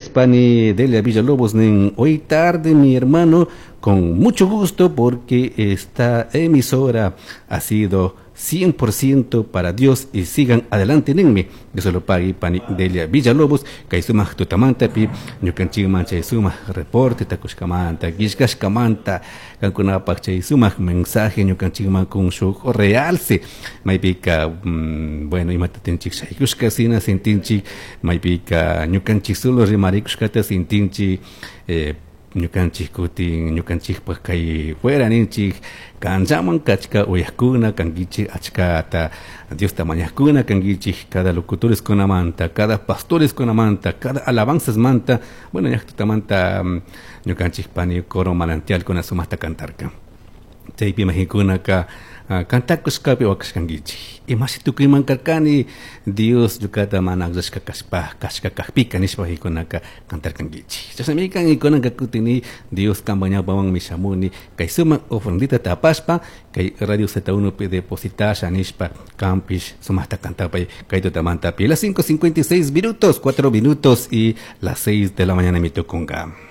Pani Delia Villalobos nin, hoy tarde mi hermano, con mucho gusto porque esta emisora ha sido 100% para Dios y sigan adelante ninmi. Dios lo pague pani Delia Villalobos, kay sumak tutamantapi, ñukanchikman chay sumak reporte takushkamanta, killkashkamanta, kankunapak chay sumak mensaje ñukanchikman kun shuk realce, maypika, bueno, imata tinchik shaykushka sina sintinchik, maypika ñukanchik solo rimarikushkata sintinchik, ñukanchik kutin ñukanchikpak kay fuera ninchik kanllaman kachka uyajkuna kankichik achkata Diosta mañajkuna kankichik cada locutoreskunamanta, cada pastoreskunamanta, cada alabanzasmanta, bueno, ñaktutamanta ñukanchik pani coro manantialkuna sumaqta cantarka. Chaypi imaginkunaka cantakushkapi wakashkankichik. Imashi tukuyman karkani Dios ñukata mana akllashka kashpa kashka kakpika nishpa hikunaka cantarkankichik. Chashnami kan ikunaka kutini Dios kanpak ñawpamanmi shamuni kay sumak ofrendita tapashpa kay Radio Z1 pi depositasha nishpa kanpish sumaqta cantapay kay tutamantapi. Las 5:56 minutos, 4 minutos y las 6 de la mañana mi tukunga.